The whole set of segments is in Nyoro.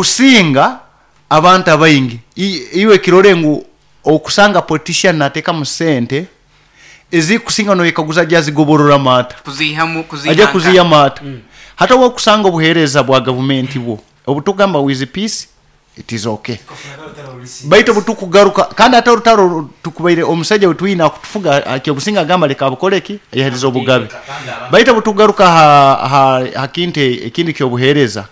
Kusinga abantu abaingi. Iwe kirore ngu okusanga politician natekamu sente ezikusinga noyekaguza aja zigobororamu ata? Kuziihamu kuziiha Aja nkaha? kuziihamu ata? Hati obwokusanga obuhereza bwa gavumenti bwo obutukugamba with peace it is okay baitu obutukugaruka kandi ate orutaro tukubaire omusaija wetwine akutufuga akyobusinge agamba leka abukole ki ayeherize obugabe baitu obutukugaruka ha kintu ekindi kyobuhereza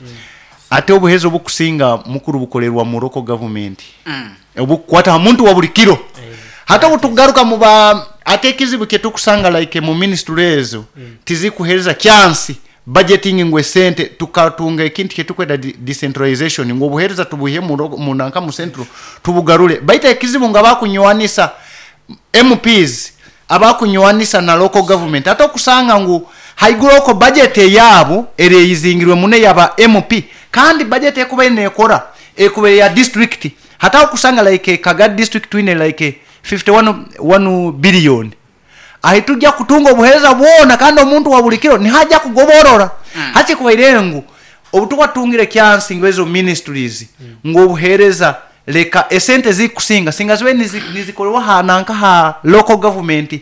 ate obuhereza obukusinga mukuru bukolerwa mu local government obukukwata ha muntu wa buli kiro hati obutukugaruka mu ba ate ekizibu kyetukusanga like mu ministry ezo tizikuhereza chance Budgeting ngu esente tukatunga ekintu kyetukweta decentralization ngu obuhereza tubwihe mu nanka mu central tubugarure baitu ekizibu ngu abakunywanisa MPs abakunywanisa na local government ate okusanga ngu haiguru okwo budget eyaabo ereyizingirwe muno eyaba MP kandi budget ekubaire nekora ekubaire ya district hati aho okusanga like Kagadi district twine like 51 billion Ahi tugya kutunga obuheereza bwona kandi omuntu wa buli kiro niho aja kugoborora. Hati kubaire ngu obu tuba tutungire kyansi ngu ezo ministries ngu obuheereza leka esente ezikusinga singa zibaire nizikorerwa ha nanka ha local government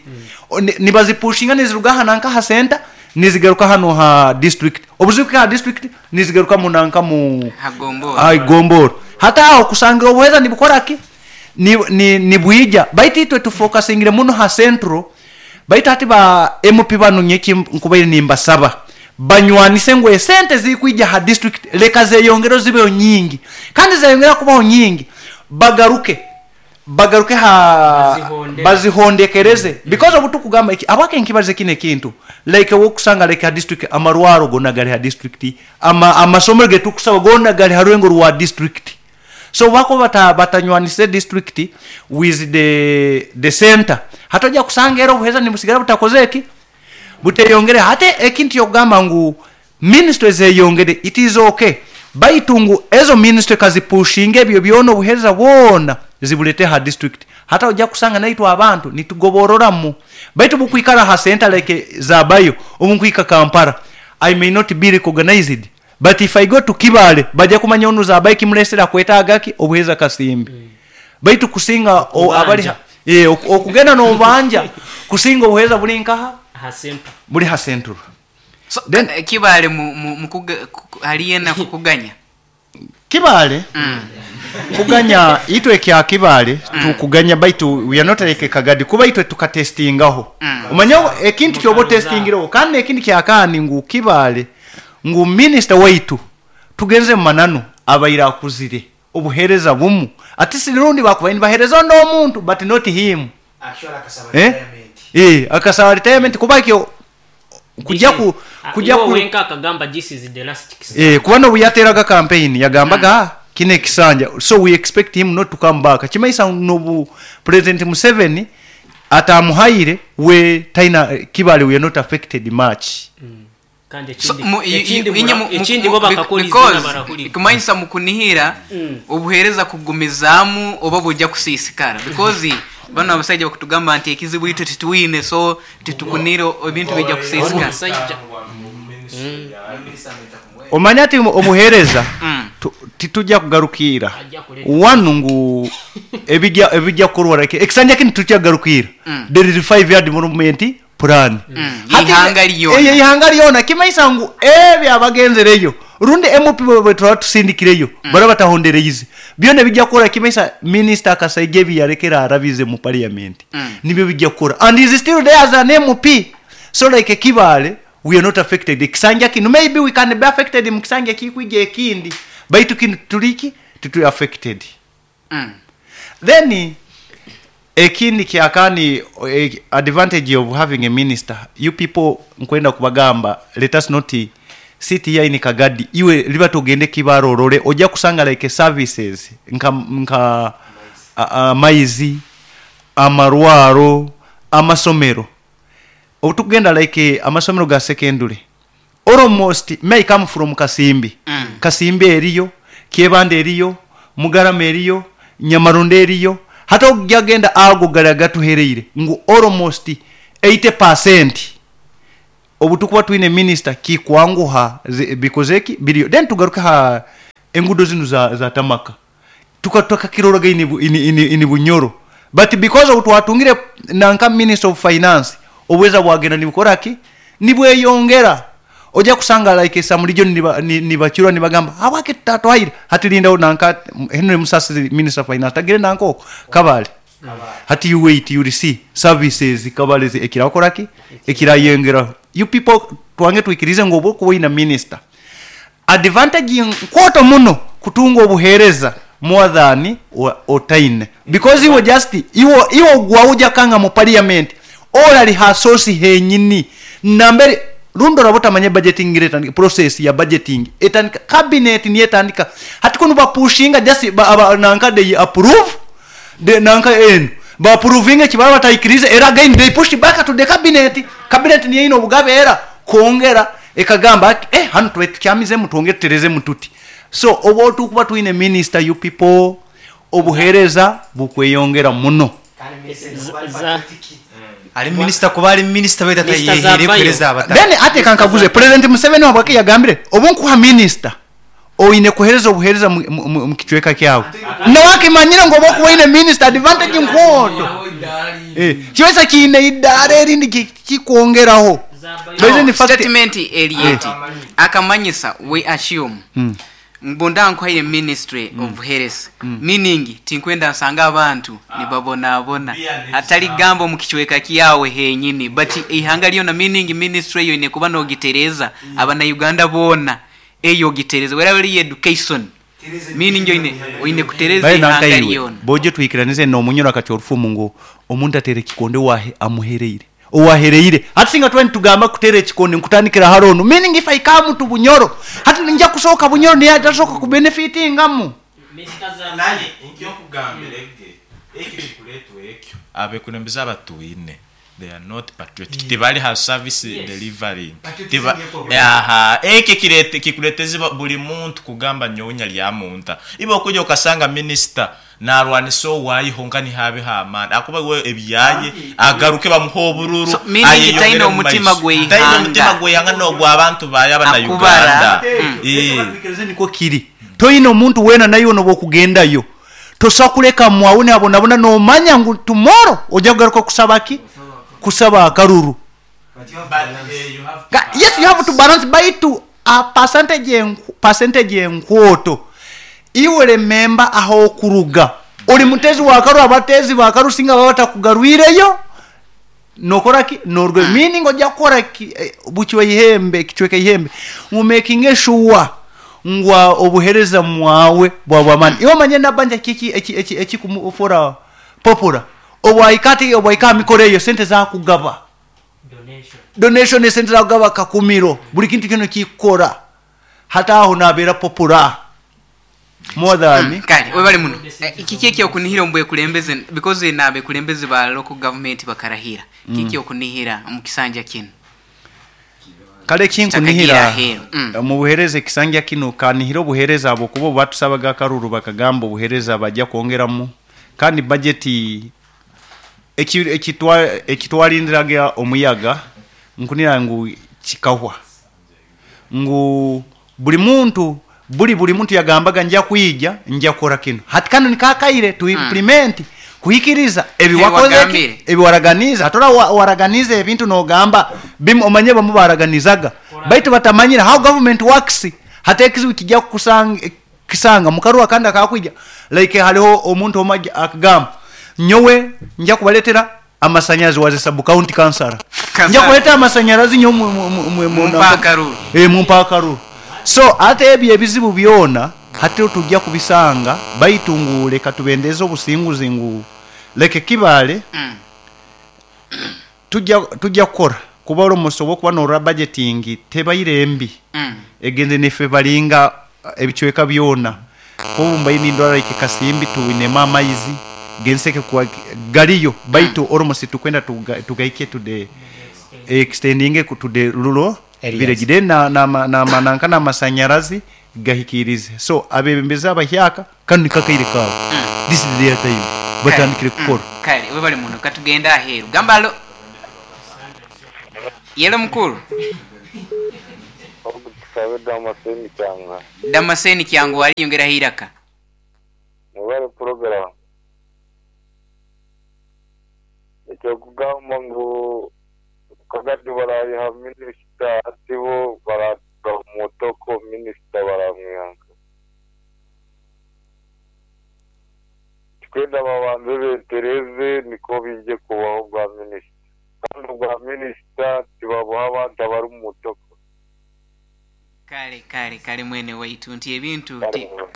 nibazipushinga niziruga ha nanka ha center nizigaruka hanu ha district obu zikuhika ha district nizigaruka mu nanka mu ha gombora. Hati aho kusangira obuheereza nibukora ki? Ni, ni, nibwija. Baitu itwe tufokasingire muno ha Central, baitu hati ba MP banu nyowe eki nkubaire nimbasaba, banywanise ngu esente ezirikwija ha district leka zeyongereho zibeho nyingi. Kandi zayongera kubaho nyingi, bagaruke, bagaruke ha, bazihondekereze. Because obu tukugamba eki, habwaki nkibalize kinu ekintu, like owokusanga like ha district amarwaro gona gari ha district, ama, amasomero getukusaba gona gari ha rurengo rwa district. So obubakuba batanywanisize district with the center, hati oja kusanga era obuhereza nibusigara butakozire ki? Buteyongere. Hati ekintu kyokugamba ngu ministry zeyongere it is ok baitu ngu ezo ministry kazipushinge ebyo byona obuhereza bwona zibulete ha district. Hati oja kusanga naitwe abantu nitugobororamu baitu obukwikara ha center like Zabayo obunkuhika Kampala I may not be recognized But if I go to Kibaale baja kumanya onu Zabayo ekimulesere akwetaaga ki? Obuheereza kasimbi. Baitu kusinga abali Okubanja. eh, okugenda n'obanja kusinga obuheereza buli nkaha? Ha central. Buli ha central. So Then Kibaale mu, mu, mukuga, ku, hali yena kukuganya? Kibaale kuganya itwe ekya Kibaale tukuganya baitu we are not like Kagadi kuba itwe tukatestingaho. Omanya ekintu kyoba otestingireho kandi n'ekindi kyakaani ngu Kibaale ngu minisita waitu tugenze mu mananu abaire akuzire obuhereza bumu ati si rundi bakubaire nibahereza ondi omuntu but not him eh eh akasaba retirement kuba ekyo kugya ku kugya Iwe ku wenka akagamba this is the last eh kisanja. kuba nobuyateraga campaign yagambaga ah kino ekisanja so we expect him not to come back kimaisa nobu president Museveni atamuhaire we taina Kibale we are not affected much. Kandi So, ekindi mu, i, i, ekindi inye mura mu, mu, ekindi mu, bo bec- bakakora izina because barahurira. kumanyisa mukunihira obuhereza kugumizaamu oba buja kusiisikara because banu abasaija bakutugamba nti ekizibu itwe titwine so titukunira ebintu bija Onu kusiisikara. omusaija Omanye ati obuhereza tituja kugarukiira aja kuleta wanu ngu ebija ebija kukorwa like ekisanja kinu tituja kugarukiira there is 5 year development plan. Hati Yeihanga lyona. eihanga lyona kimaisa ngu ebyo abagenzereyo rundi MP bweturaba tusindikireyo baraba batahondereize byona ebija kukora kimaisa minisita Akasaija ebiyarekere arabize mu parliament nibyo bija kukora and is still there as an MP so like Kibaale we are not affected ekisanja kinu maybe we can be affected mukisanja ekikwija ekindi baitu kinu tituri ki tituri affected. Then ekindi kyakani advantage of having a minister you people nkwenda kubagamba let us not sit here in Kagadi iwe libata ogende Kibaale orole oja kusanga like services nka nka amaizi, amarwaro, amasomero obutukugenda like amasomero ga secondary almost me I come from Kasimbi, Kasimbi eriyo, Kyebando eriyo, Mugarama eriyo, Nyamarondo eriyo, hati oja genda ago gari agatuhereire ngu almost 80 percent obutukuba twine minisita kikwanguha bikozeki biriyo. Then tugaruke ha Enguudo zinu za, za tamaka tukakakiroraga in, in, in, in Bunyoro, but because obu twatungire nanka Minister of Finance, obuheereza bwagenda nibukora ki? Nibweyongera. Oja kusanga like some region nibacura nibagamba habwaki tutatwaire, hati lindaho nanka Henry Musasizi Minister of Finance tagire nanka oko Kabale. Hati you wait, you will see services Kabale ekirakora ki? Ekirayongeraho. You people twange twikirize ngu obu okuba oine minister, advantage nkooto muno kutunga obuheereza more than otaine, because iwe just iwe iwe ogwaho oja kanga mu parliament orali ha source henyini nambere rundi oraba otamanya budgeting ngira etandika, process ya budgeting etandika cabinet niyo etandika, hati kunu bapushinga just ba, aba, nanka they approve the nanka enu ba approvinga eki baraba bataikirize, era again they push back to the cabinet, cabinet niyo eine obugabe era kwongera ekagamba ati eh hanu tubaire tukyamizemu twongere tuterezemu tuti. So obu otukuba twine minister you people obuhereza bukweyongera muno. Ali minister kuba ali minister baitu Mister atayeheire Zabayo. kuhereza abataka. Then ati kankaguze President Museveni habwaki yagambire obu nkuha minister oine kuhereza obuhereza mu kicweka kyawe. Nawe akimanyire ngu obu okuba oine minister advantage nkwoto. Kibaisa kiine idaara erindi kikwongeraho. But in fact, Statement eri eti, akamanyisa we assume ngu ndankuhaire ministry of health, meaning tinkwenda nsange abantu nibabonabona, hatari gamba omu kicweka kyawe henyini but eihanga ryona, meaning ministry eyo eine kuba nogitereza abana-Uganda boona, eyo ogitereza weraba eri education, meaning oine kutereza Bae eihanga nanka iwe, ryona. boje tuhikiranize n'omunyoro akacwa orufumu ngu omuntu ateera ekikonde owahe amuhereire, owahereire. Hati singa twena nitugamba kuteera ekikonde nkutandikira hali onu, meaning if I come to Bunyoro, hati ninja kusooka Bunyoro niye atasooka kubenefitingamu. Nanye nkyokugambira ege ekyo kikuleetwa ekyo abekulembeze abatwine they are not patriotic, tibali ha service delivering. Tiba, aha ekyo kirete kikuleteza buli muntu kugamba nyowe nyalyamunta. Ibe okuja okasanga minister narwanisa owayiho nka nihabe hamani akuba we ebyaye agaruke bamuha obururu. So, meaning ayeyongere taine mu omutima maiso. gw'eihanga. Taine omutima gw'eihanga n'ogwa abantu baye abana Akubara. Uganda. Niko kiri, toine omuntu weena naiwe noba okugendayo tosobola kuleka mwawe nabonabona nomanya ngu tomorrow ojja kugaruka kusaba ki? Kusaba akaruru. Yes, you have to balance baitu a percentage percentage enkwoto iwe remember aho okuruga ori mutezi wa karu, abatezi ba karu singa baba batakugarwireyo nokora ki? Norwe. Meaning ojja kukora ki, bukiwe ihembe kichweka ihembe ngu making sure ngwa obuhereza mwawe bwa bwamani. Iwe manye nabanja kiki eki eki eki kumufora popura obwaikati obwaika mikore eyo sente za kugaba donation, donation sente za kugaba kakumiro buli kintu kino kikora hata aho nabera popura more than Kale webale muno. Kiki ekyokunihira omu bwekulembeze, because n'abekulembeze ba local government bakarahira, kiki okunihira omu kisanja kino? Kale kinkunihira Kitakagira aheeru. Mu buhereza ekisanja kino kanihira obuhereza abo kuba batusabaga akaruru bakagamba obuhereza bajja kwongeramu kandi budget ekitwalindiraga omuyaga nkunira ngu kikahwa ngu buli muntu buli muntu yagambaga nja kwija nja kukora kino hati kano nikakaire tu implement kuhikiriza ebi wakoze ki? Ebiwagambire. Ebi waraganiza atora waraganiza ebintu nogamba bimu omanye bamu baraganizaga baitu batamanyira how government works hata ekizibu kijja kisanga mukaruwa kandi akakwija like haliho omuntu omwe akagamba nyowe nja kubaleetera amasanyalazi waze sub county councilor. Councilor. Nja kuleeta amasanyalazi nyo Mumpa akaruru. Mumpa akaruru. So ate ebyo ebizibu byona hati tujja kubisanga baitu ngu leka tubendeze obusinguzi ngu leke kibale. Tujja kukora kuba olomuso okuba norora budgeting tebaire mbi. Egenze nefe balinga ebicweka byona kuba mbaine ndwara like kasimbi tuinema amaizi genseke kwa galiyo baitu olomusi tukwenda tugaike to the extending to the rural Areas. village then na na na na nanka na masanyarazi gahikirize. So abebembeza abahyaka kanu nikakaire kawe. This is their time batandikire kukora. Kale we bali muno katugenda aheru gamba alo yelo mukuru. Tusabe Damascene Kyanga. Damascene Kyangu wali yongeraho iraka. Mwebale program. Ekyokugamba ngu Kagadi barayiha minisita ati bo baratuga mutoko minisita baramwihanka. Twenda babanze betereze niko bijye kubaho bwa minisita. Kandi ubwa minisita tibabuha abantu abari mu mutoko. Kale kale kale mwene waitu nti ebintu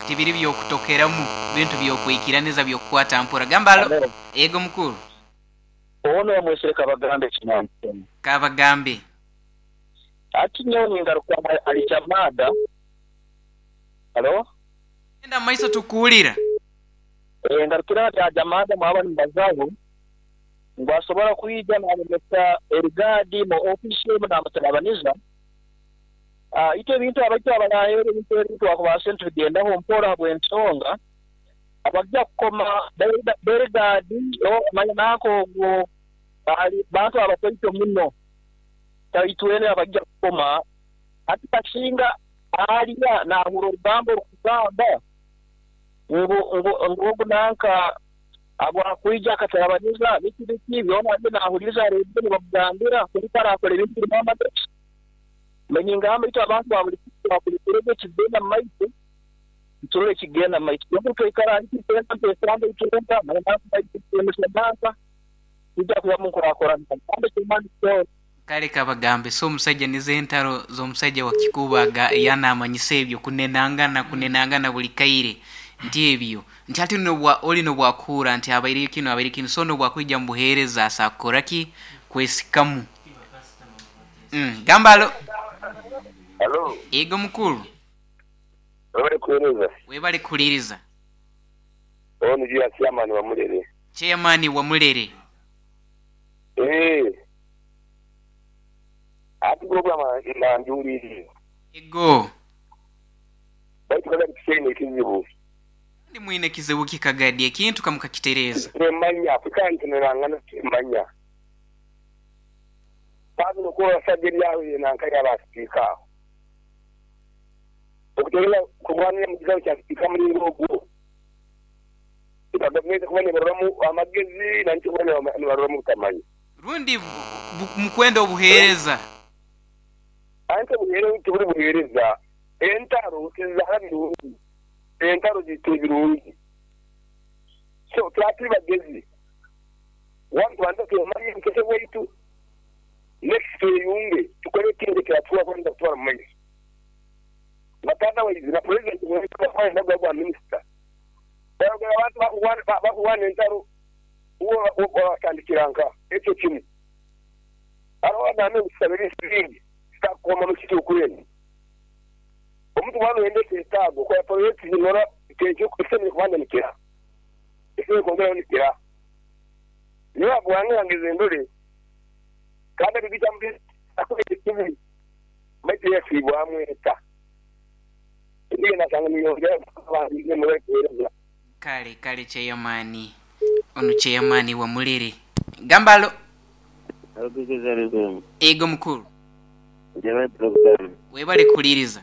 tibiri byokutokeramu, bintu byokwikiraniza byokukwata mpora. Gamba alo. Ego mukuru. Ono wamwesere Kabagambe kinamutema. Kabagambe. Ati nyowe ningaruka alichamada. Halo? Enda maiso tukuulira. Ngarukira ati ajamada mwaba nimbazaho. Ngo asobora kuija n'alemesa erigadi mu ofisi n'amutalabaniza. Ito ebintu abaitu abarahera ebintu ebintu akubaasa nitubigendaho mpora habw'ensonga. Abajja kukoma berigadi manya nako ogwo bantu abakwito muno taitwene abajja kukoma ati kasinga aliya nahura orugambo orukugamba ngu nanka abwakwija akatarabaniza biki biki byona byo nahuriza rero nibamugambira kuliko arakora ebintu birimu amagezi. Manye ngamba itwe abantu ba buli kirego kigenda mu maiso turole kigenda mu maiso. Twembi twikara ntitwenda ntwesamba itwenda mananka tujja kuba munkurakurana kandi kimani kyo. Kale Kabagambe so omusajja nize entaro z'omusajja wa Kikubaga yanamanyisa ebyo kunenangana buli kaire nti ebyo nti ate oli nobwakura nti abaire kino so nobwakwijja mu buheereza asakoraki kwesikamu. Gamba alo. Halo. Ego mukuru. Webale kuhereza. Webale kuliriza. Ono juya chairman wa Mulere. Chairman wa Mulere. Ati program inanjuliri. Ego. Baitu kaga kisene kizibu. Ndi mwine kizibu kikagadi ekintu kamukakitereza. Nemanya kandi nerangana kimanya. Bazi nokuba sajeri yawe nanka yabasipika. Okutegera kurwanira mu kigambo kya sipika muri ngogo. Gavumenti kuba nibaroramu amagezi nanti kuba nibaroramu butamanya. Rundi mukwenda obuheereza. Anti obuheereza tuburi buheereza. Entaro tizahara birungi. Entaro ziteye birungi. So turaturi bagezi. Wantu banza tuyamariye mukese waitu. Next tuyunge tukore kintu kiratuwa kwenda kutwara mu maiso. Batata waizi na president waizi kwa minister. Barogera abantu bakuwana entaro uwo watandikiranga ekyo kimu. Aro name gusabira insingi sitakoma mu kitu kwene. Omuntu wano yende setago kwa project zinora tejo kusemye kubanda nikira. Ese kongera nikira. Niyo abwange ngeze ndore kandi bibita mbi akubye kibi. Maite yasibwa amweta. Ndiye nasanga niyongera abantu muri kuhereza. Kale kale chairman. Ono chairman wa Mulere. Gambalo. Ego mukuru. Njebe program. Webale kuliriza.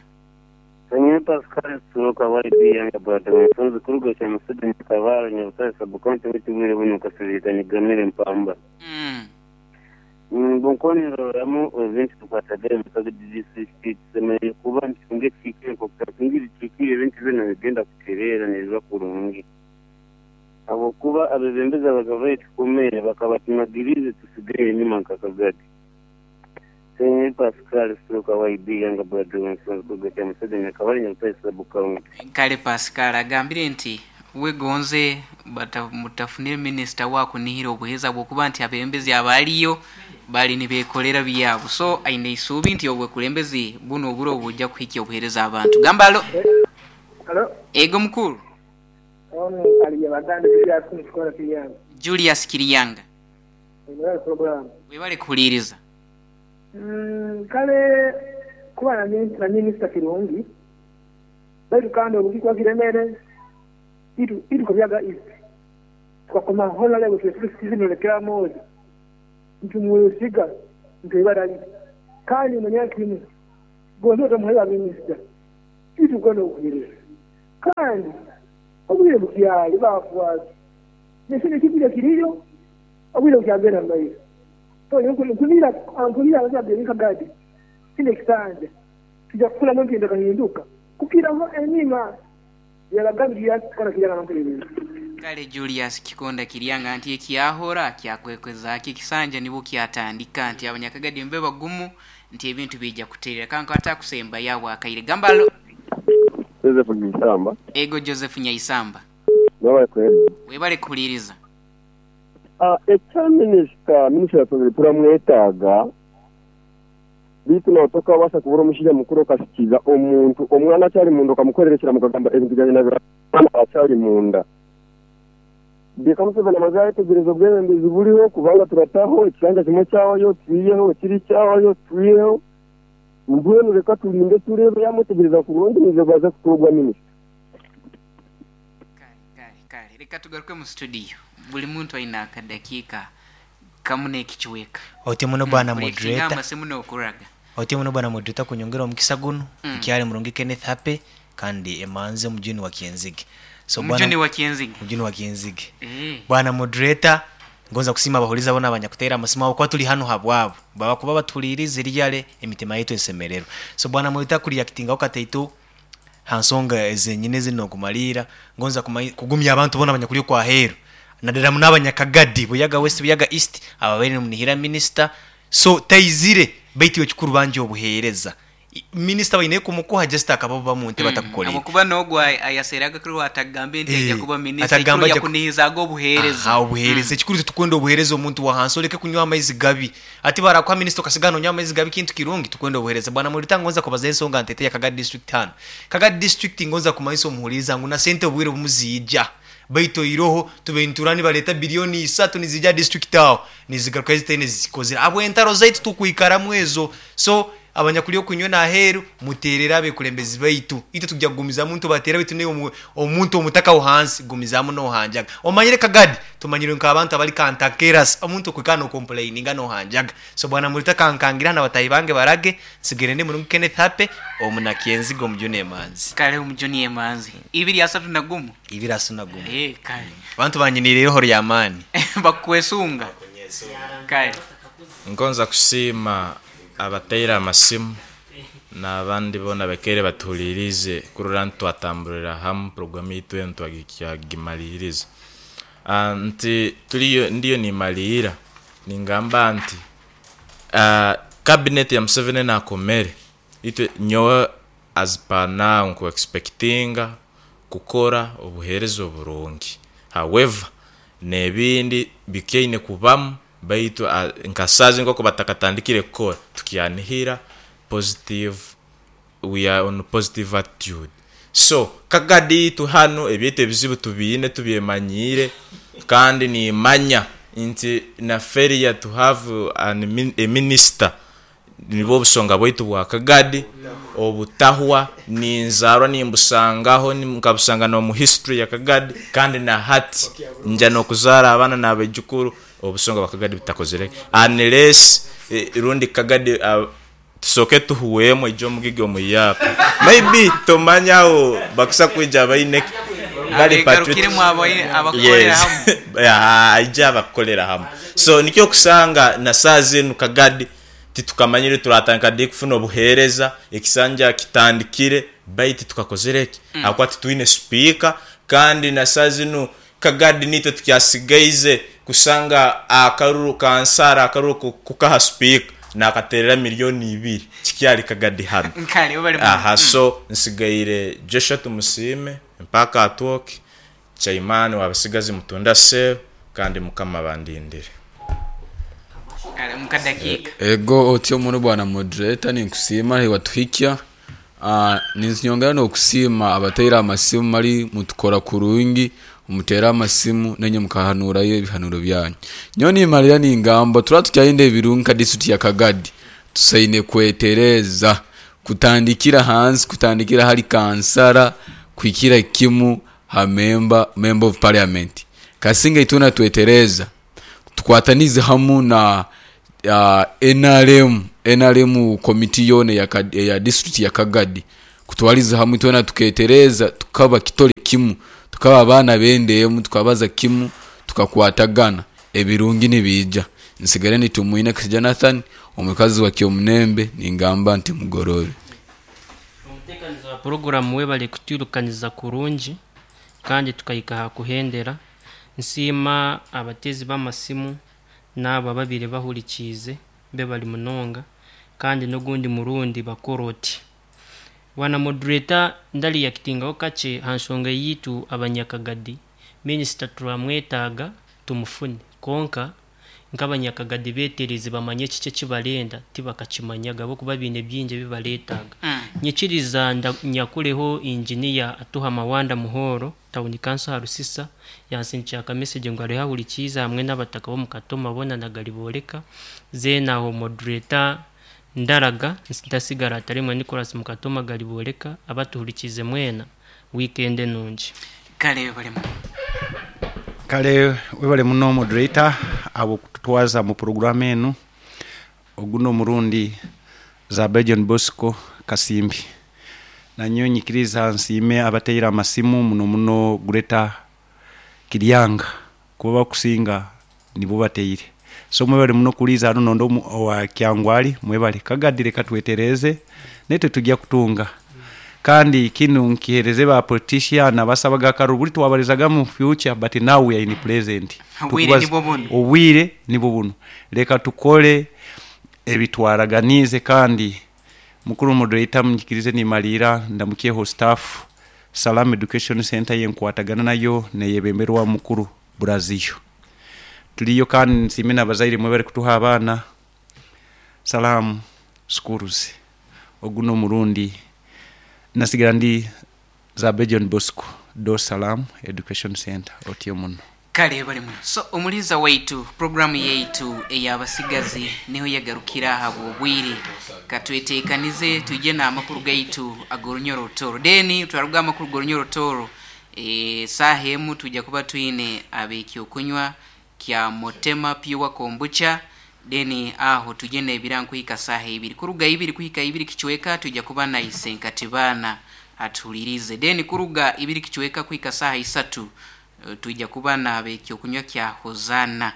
Sanyini Pascal Suruka wali biya ya brother mfunzi kurugo cha msudu nikavara nyabutare sabukonte witubwire buno kasirika nigamire mpamba. Bonkoni roramu event tukwatagere musaga district semeye kuba ntifunge kikire ko kutungiri kikire event bino bigenda kuterera neza kurungi. Abo kuba abebembeza bagavaye tukomere bakabatimagirize tusigaye nyuma nkakagadi. Sanyini Pascal Suruka wali biya nga brother mfunzi kurugo cha msudu nikavara nyabutare sabukonte. Kale Pascal agambire nti wegonze mutafunire minister wako nihira obuheza bwokuba nti abembezi abaliyo bali nibekolera byabo so aine isubi nti obwekulembezi buno oburo obujja kuhikia obuhereza abantu. Gambalo. Hello. Ego mukuru. Ono ali yabaganda Julius Mukora Kiriyanga. Julius Kiriyanga. Webale program. Webale kuliriza. Kale kuba na minister Kirungi. Bali kandi obukikwa kiremere. Itu kubyaga east twakoma hola lego twesikizi lekera moja mtu mwesiga mtu ibadali kandi mwenye kimu Gonza otamuhayo ba minisita baitu kwenda obuheereza. Kandi obwire bukyali baafwaki n'ekindi ekigwire kiriyo, obwire bukyagenda mu maiso. So nyowe nkunira nkunira abazadde nka Gadi kinu ekisanja twija kukuramu empindakahinduka kukiraho enyima. Byabagabi Julius Kikonda Kiryanga n'omutereerezo. Kale Julius Kikonda Kiryanga nti ekyahora kyakwekwezaki ekisanja nibwo kyatandika nti abanyakagadi mube bagumu nti ebintu biija kuterera kankwate akusembayo awo akaire gamba alo. Joseph Nyaisamba. Ego Joseph Nyaisamba. Webale kuhereza. Webale kuhuliriza. Ekya minisita, minisita yatugambire turamwetaaga beitu nawe tokabaasa kubura omushaija mukuru okasikiza omuntu omwana akyari munda okamukorera ekiraamo okagamba ebintu byangye nabiraba omwana akyari munda. Reka Museveni amaze yayetegyereza obwebembezi buriho kubanga turataho ekisanja kimwe kyawayo twiheho ekiri kyawayo twiheho mbwenu reka turinde tureebe yamwetegyereza kurungi naija kubaasa kutoorwa minisita. Kale, kale, kale. Leka tugaruke mu studio. Buli muntu aine akadakiika kamu n'ekicweka. Otyo muno bwana Buli moderator. ekigambo simu n'okuraga. Otyo muno bwana moderator kunyongera omukisa gunu. Nkyali murungi Kenneth Happy kandi emanzi omujuni wa Kyenzige. So bwana Omujuni wa Kyenzige. Omujuni wa Kyenzige. Eh. Bwana moderator, ngonza kusiima abahuliiriza bona abanyakuteera amasimu ahabw'okuba tuli hanu habwabo. Baba kuba batuhuliirize riyale emitima yaitu esemererwa. So bwana moderator kureactingaho kataito ha nsonga ezenyini ezi nokumaliira, ngonza kugumya abantu bona abanyakuli okwaheeru nadala muno abanyakagadi, Buyaga West, Buyaga East ababaire nimunihira minisita. So taizire baitu iwe ekikuru banja obuheereza. Minisita baine kumukuha just akaba obuba muntebe atakukoleire. Habwokuba n'ogu ayaseraga kiro atagambe nti aija kuba minisita, Atagamba ekikuru aija yakunihizaaga obuheereza. Aha, obuheereza. Ekikuru titukwenda obuheereza omuntu wa hansi oleke kunywa amaizi gabi. Hati barakuha minisita okasigara nonywa amaizi gabi kintu kirungi? Tukwenda obuheereza. Bwana Murita ngonza kubaza ensonga nteete ya Kagadi District hanu. Kagadi District ngonza kumanyisa omuhuriiriza ngu na sente obwire obumu ziija. Baitu oiroho tubaire niturora nibareeta billioni isatu niziija aha district aho nizigarukayo zitaine ezizikozire ahabw'entaro zaitu tukwikaramu ezo. So abanyakuri okunywa n'aheeru muteerere abekulembezi baitu. Itwe tuija kugumizamu nitubateera baitu naiwe omuntu omutaka aho hansi gumizamu nohanjaga. Omanyire Kagadi tumanyirwe nk'abantu abari kantankeras, omuntu okwikara nokomplaininga nohanjaga. So bwana Murita kankangira na bataahi bange barage, nsigaire ndi murungi Kenneth Happy omunakyenziga omujuni emanzi. Kale omujuni emanzi. Ibiri asatu na gumu. Ibiri asatu na gumu. Eeh kale. Abantu banyiniire eiroho ry'amaani. Bakukwesunga. Kale. Ngonza kusiima abataire amasimu n'abandi boona abaikaire batuhuliiriize kurora nti twatamburira hamu puroguramu yaitu enu twagimaliiriza. Nti turiyo ndiyo nimaliira ningamba nti kabineti ya Museveni enu akomere itwe nyowe as per now nku expectinga kukora obuheereza oburungi however n'ebindi bikyaine kubamu baitu nka saaha zinu nkoku batakatandikire kukora tukyanihira positive we are on positive attitude so kagadi itwe hanu ebyaitu ebizibu tubiine tubyemanyiire kandi nimanya nti na failure to have an a minister nibwo obusonga bwaitu bwa kagadi obutahwa ninzarwa nimbusangaho nkabusanga nomu history ya kagadi kandi nahati nja nokuzara abaana nabaijukuru obusonga bwa kagadi butakozire unless rundi kagadi Tusooke tuhuweemu aije omugigi omuyaaka. Maybe tomanya aho bakusa kwija baine ki bari patriotic. Abegarukiremu abakukolera Yes. hamu. Aha, aije abakukolera hamu. So nikyo okusanga na saaha zinu Kagadi titukamanyire turatandika di kufuna obuheereza, ekisanja kitandikire baitu titukakozire ki? Ahabw'okuba titwine sipiika kandi na saaha zinu Kagadi niitwe tukyasigaize kusanga akaruru kansara akaruru kukaha sipiika nakaterera milioni ibiri kikyali Kagadi hanu. Kale webale muno. Aha so nsigaire Joshua Tumusiime mpaka atwoke chaimani wabasigazi mutunda cell kandi mukama abandindire. Kale mukadakiika. Ego otyo muno bwana moderator ninkusiima ahi watuhikya. Ninyongera n'okusiima abataire amasimu mali mutukora kurungi, muteera amasimu nainye mukahanurayo ebihanuro byanyu. Nyowe nimalira ningamba turaba tukyayenda ebirungi nka disiturikiti ya Kagadi, tusaine kwetereza kutandikira hansi, kutandikira hali kansara kuhikira kimu ha memba, member of parliament. Kasinga itwena twetereza tukwatanize hamu na Nrm, nrm komiti yoona eya disiturikiti ya Kagadi kutwaliza hamwe twena tuketereeza tukaba kitole kimu, tukaba abaana b'enda emu, tukabaza kimu, tukakwatagana, ebirungi nibiija. Nsigaire ndi Tumwine Jonathan, omukazi wa Kyomunembe, ningamba nti mugoroobe. Omuteekaniza wa puroguramu webale kutwirukaniza kurungi kandi tukahika aha kuhendera. Nsiima abateezi b'amasimu n'abo ababaire bahurikiize bebare munonga kandi n'ogundi murundi bakore oti. Bwana moderator ndariyakitingaho kakye aha nshonga yaitu abanyakagadi, minisita turamwetaaga tumufune kwonka nk'abanyakagadi betereze bamanye kiki eki barenda tibakakimanyaga ahabw'okuba baine bingi ebi bareetaaga. Nyikiriza nyakureho engineer Atuha Mawanda Muhoro Town Council aha Rusisa yansindikira aka message ngu ariho ahurikiize hamwe n'abataka b'omu Katoma boona na Garibooreka. Then aho moderator Ndaraga ntasigara Atarimwe Nicholas Mukatoma Garibooreka abatuhurikiize mwena weekend enungi. Kale webale muno. Kale webale muno moderator ahabw'okututwaza mu puroguramu enu. Ogu n'omurundi Zabe John Bosco Kasimbi. Nanyowe nyikiriza nsiime abateire amasimu muno muno Greater Kiryanga kuba abakusinga nibo bateire. So mwebale muno kuliiza hanu nondi owa Kyangwali mwebale. Kagadi leka twetereeze naitwe tugya kutunga. Kandi kinu nkihereze ba politician abasabaga akaruru buri twabarizaga mu future but now we are in present. Obwire nibwo bunu. Obwire nibwo bunu. Leka tukole ebitwaraganiize kandi Mukuru Moderator munyikirize nimaliira ndamukyeho staff Salaam Education Centre yenkwatagana nayo neyebemberwa Mukuru Brazio. Tuliyo kandi nsiime nabazaire mwebale kutuha abaana Salaam Schools. Ogu nomurundi nasigara ndi Zabe John Bosco do Salaam Education Centre otyo muno. Kale webale muno. So omuliiza waitu, puroguramu yaitu ey'abasigazi niho yagarukira ahabw'obwire. Katweteekanize twije n'amakuru gaitu ag'orunyoro-Rutoro. Then twaruga aha makuru g'orunyoro-Rutoro, esaaha emu twija kuba twine ab'ekyokunywa kya Motema Pure Kombucha, then aho twije n'ebirango kuhika saaha ibiri. Kuruga ibiri kuhika ibiri kicweka twija kuba na Isenkatibaana atuhuliriize. Then kuruga ibiri kicweka kuhika saaha isatu Twija kuba n'ab'ekyokunywa kya Hosanna.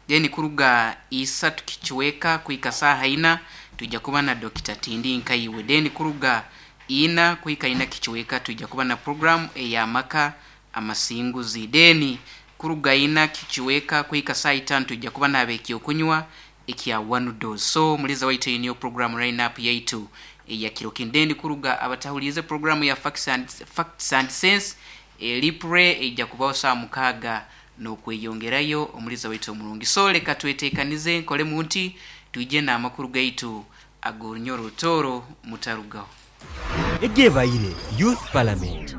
Then kuruga isatu kicweka kuhika saaha ina, twija kuba na Dokita Tindi Nkaiwe. Then kuruga ina kuhika ina kicweka, twija kuba na program ey'amaka amasinguzi. Then kuruga ina kicweka kuhika saaha itano, twija kuba n'ab'ekyokunywa ekya One Dose. So muliza waitu eyo niyo program line up yaitu eya kiro kinu. Then kuruga abatahuliize program ya Facts and, Facts and Sense, Lipre eija kubaho saaha mukaaga n'okweyongerayo. Omuliza waitu omurungi. So leka tweteekanize nkolemu nti twije n'amakuru gaitu ag'orunyoro Rutooro. Mutarugaho. Egyebaire Youth Parliament.